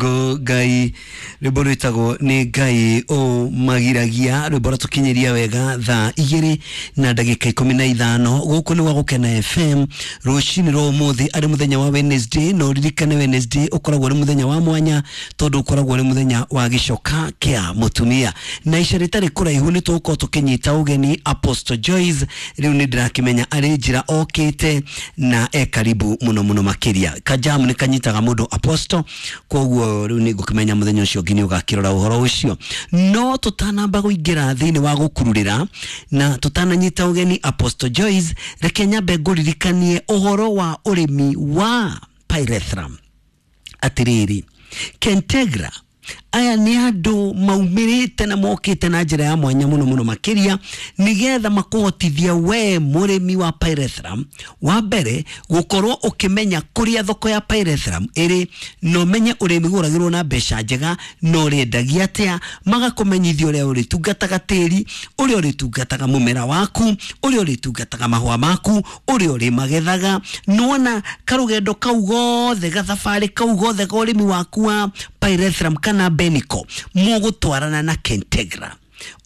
Ngai rwimbo rwitagwo ni Ngai umagiragia rwimbo ratukinyiria wega thaa igiri na ndagika 15 guku ni gwa Gukena FM rucini rwa umuthi ari muthenya wa Wednesday. No ririkane Wednesday ukoragwo uri muthenya wa mwanya tondu ukoragwo uri muthenya wa gicoka kia mutumia na ica ritari kuraihu ni tugukorwo tukinyita ugeni Apostle Joyce. Riu ni ndirakimenya ari njira okite na e karibu muno muno makiria kajamu ni kanyitaga mundu Apostle, koguo riu ni ngukimenya muthenya ucio ngi ni ugakirora uhoro ucio. No tutanamba guingira thiini wa gukururira na tutananyita ugeni Apostle Joyce, reke nyambe nguririkanie uhoro wa urimi wa pyrethrum. Atiriri, Kentegra aya ni andu maumirite na mokite na njira ya mwanya muno muno makiria nigetha makuhotithia we murimi wa pyrethrum wa mbere gukorwo ukimenya kuria thoko ya pyrethrum iri, no menye urimi guragirwo na mbeca njega no urendagia atia, magakumenyithia uria uritungataga tiri, uria uritungataga mumera waku, uria uritungataga mahua maku, uria urimagethaga. Nona karugendo kau gothe gathabari kau gothe ka urimi waku wa pyrethrum kana beniko mugutwarana na Kentegra.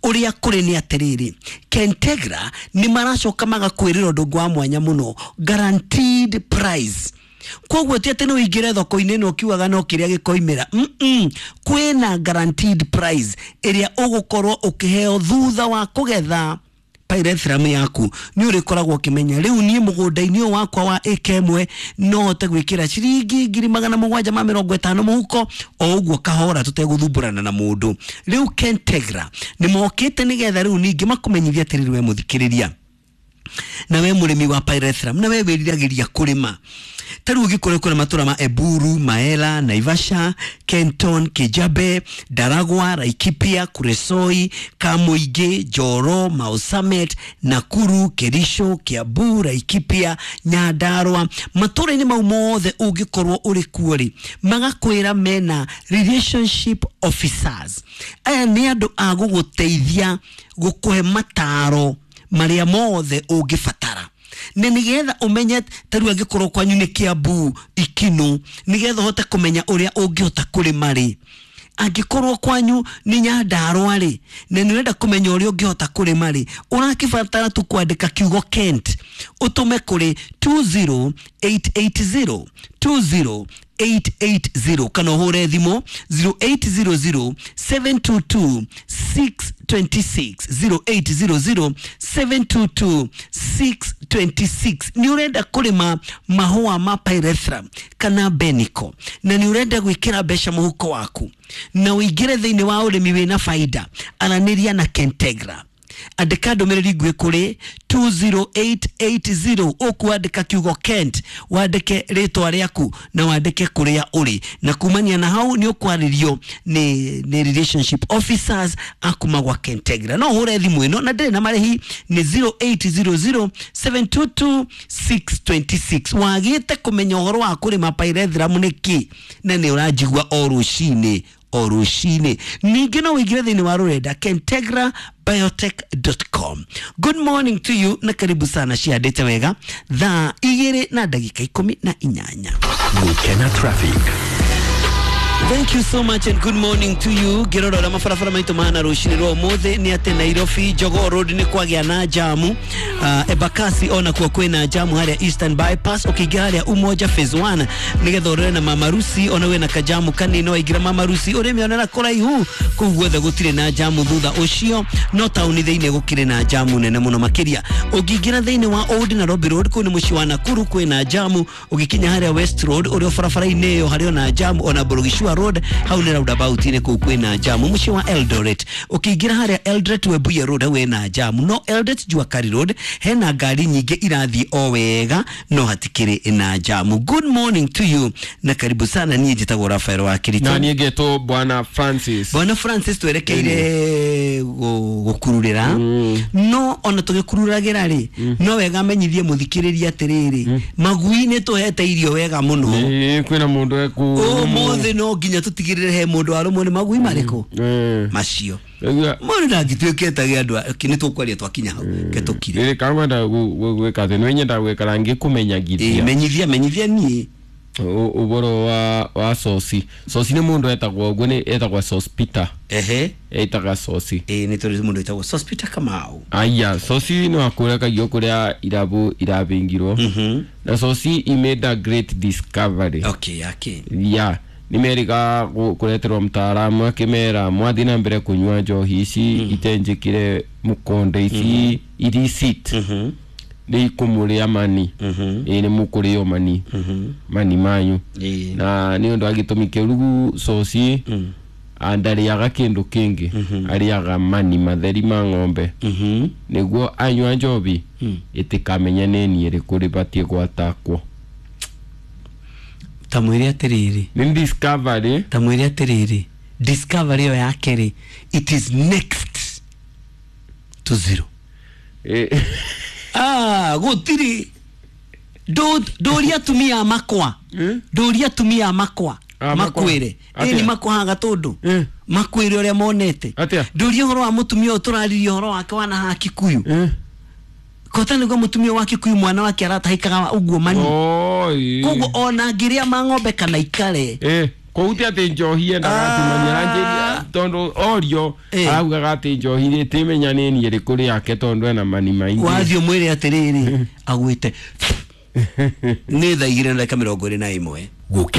Uria kuri ni atiriri, Kentegra ni maracoka magakwirira undu wa mwanya muno, guaranteed price. Koguo ti ati no ingire thoko-ini no kiugaga no kiria gikoimira, kwina guaranteed price iria ugukorwo ukiheo thutha wa kugetha pyrethrum yaku. Ni urikoragwo ukimenya riu nie mugunda-ini uyu wakwa wa eka imwe no hote gwikira ciringi 750 muhuko o uguo kahora tutegũthumbũrana na mundu. Riu Kentegra ni mokite nigetha riu ningi makumenyithia atiriri we muthikiriria na we murimi wa pyrethrum na we wiriragiria kurima. Ta riu ũngĩkorwo kũrĩ matũra ma Eburu, Maela, Naivasha, Kenton, Kijabe, Daragwa, Laikipia, Kuresoi, Kamuingi, Njoro, Mau Summit, Nakuru, Kericho, Kiambu, Laikipia, Nyandarua, matũra-inĩ mau mothe ũngĩkorwo ũrĩ kuo rĩ, magakwĩra mena relationship officers. Aya nĩ andũ a gũgũteithia gũkũhe mataro marĩa mothe ũngĩbatara na nigetha umenye ta riu angikorwo kwanyu ni Kiambu Ikinu, nigetha uhote kumenya uria ungihota kurima ri. Angikorwo kwanyu ni Nyandarua ri, na ni urenda kumenya uria ungihota kurima ri, urakibatara tu kwandika kiugo Kent utume kuri 20880 20880 kana uhure thimu 0800 722 626 0800 722 626. Ni urenda kurima mahua ma pyrethrum kana beniko na ni urenda gwikira mbeca muhuko waku na uingire thiini wa urimi wina faida, araniria na Kentegra. Andika ndũmĩrĩri nguhĩ kũrĩ 20880, ũkwandĩka kiugo Kent, wandĩke rĩtwa rĩaku na wandĩke kũrĩa ũrĩ, na kumania na hau nĩ ũkwarĩrio nĩ relationship officers akuma gwa Kentegra. No ũhũre thimũ ĩno na ndĩrĩ na marĩhi, nĩ 0800 722 626. Wagĩte kũmenya ũhoro wa kũrĩma pyrethrum nĩkĩ na nĩ ũranjigua o rũcinĩ o rũcinĩ. Ningĩ no ũingĩre thĩinĩ wa rũrenda kentegrabiotech.com. Good morning to you na karibu sana. Ciandĩte wega thaa 2:18. Gukena traffic. Thank you so much and good morning to you. Ngĩrora ũrĩa mabarabara maitũ mahana rũcinĩ rwa ũmũthĩ nĩ atĩ Nairobi Jogoo Road nĩ kwagĩa na jamu, Embakasi ona kuo kwĩna jamu harĩa Eastern Bypass, ũkĩingĩra harĩa Umoja Phase 1 nĩgetha ũrore na Mamarusi ona wĩna kajamu kanini waingĩra Mamarusi ũrĩmĩonera kũraihu kũu guothe gũtirĩ na jamu thutha ũcio, no taũni thĩinĩ gũkĩrĩ na jamu nene mũno makĩria. Ũngĩingĩra thĩinĩ wa Old Nairobi Road kũu nĩ mũciĩ wa Nakuru kwĩna jamu, ũgĩkinya harĩa West Road ũrĩa barabara-inĩ ĩyo harĩ ona jamu, ona Borogishua Road hau nĩ roundabout-inĩ kũu kwĩna jamu. Mũciĩ wa Eldoret ũkĩingĩra harĩa Eldoret Webuye Road hau hena jamu, no Eldoret Juakari Road hena ngari nyingĩ irathiĩ o wega no hatikĩrĩ na jamu. Good morning to you na karibu sana. Niĩ njĩtagwo Rafael wa Kirito na niĩ ngetwo Bwana Francis. Bwana Francis, twerekeire gũkururĩra, no ona tũgĩkururagĩra rĩ, no wega menyithie mũthikĩrĩria atĩrĩrĩ, magui nĩ tũhete irio wega mũno. Kwĩna mũndũ eku ũmũthĩ no nginya tũtigĩrĩre he mũndũ warũmwo nĩ magui marĩkũ macio. Mũndũ ndangĩtuĩke age andũ nĩ tũkwaria twakinya hau ke tũkire. Rĩrĩ kangwenda gwĩka atĩ nĩ nyenda gwĩkara ngĩkũmenyagithia. Menyithia menyithia niĩ. Uboro wa soci soci nĩ mũndũ etagwo ũguo nĩ etagwo Sospeter. Ehe. Etaga soci. Ĩ, nĩ tũrĩ mũndũ wĩtagwo Sospeter Kamau. Aya, soci nĩ wakũrekagio kũrĩa irabu irabingirwo na soci he made a great discovery. Okay, yake. Ya nĩ merĩga kũreterwo mtaalamu akĩmera mwathiĩ na mbere kũnyua njohi ici itenjĩkire mũkonde ici illicit nĩ ikũmũrĩa mani. Ĩ, nĩ mũkũrĩo mani mani manyu. Ĩ. Na nĩ ũndũ wa gĩtũmi kĩu rĩu coci ndarĩaga kĩndũ kĩngĩ, arĩaga mani matheri ma ng'ombe nĩguo anyua njobi ĩtĩkamenya nĩ niĩ ĩrĩkũ rĩbatiĩ gwatakwo. Ta mwĩre atĩrĩrĩ. Nĩ discovery. Ta mwĩre atĩrĩrĩ, discovery ĩyo yake rĩ, it is next to zero. Ah, gũtirĩ. Ndũria atumia a makwa, ndũria atumia a makwa. Ah, makwa. Makwĩre. Atĩa? Ĩni makwahaga tũndũ makwĩre ũrĩa monete. Atĩa? Ndũria ũhoro wa mũtumia ũyũ tũraririe ũhoro wake wana haha Kikuyu. Kota nĩguo mũtumia wa Kikuyu mwana wake aratahĩkaga ũguo mani. Oi. Koguo ona ngĩrĩa ma ng'ombe kana ikare. Kũu ti atĩ njohi endaga atumania aranjĩria tondũ orio araugaga atĩ njohi rĩtĩmenya nĩ niĩ ĩrĩkũ rĩake tondũ ena mani maingĩ. Wathiĩ ũmwĩre atĩrĩrĩ agwĩte nĩ thaa 2:21. Gũkena.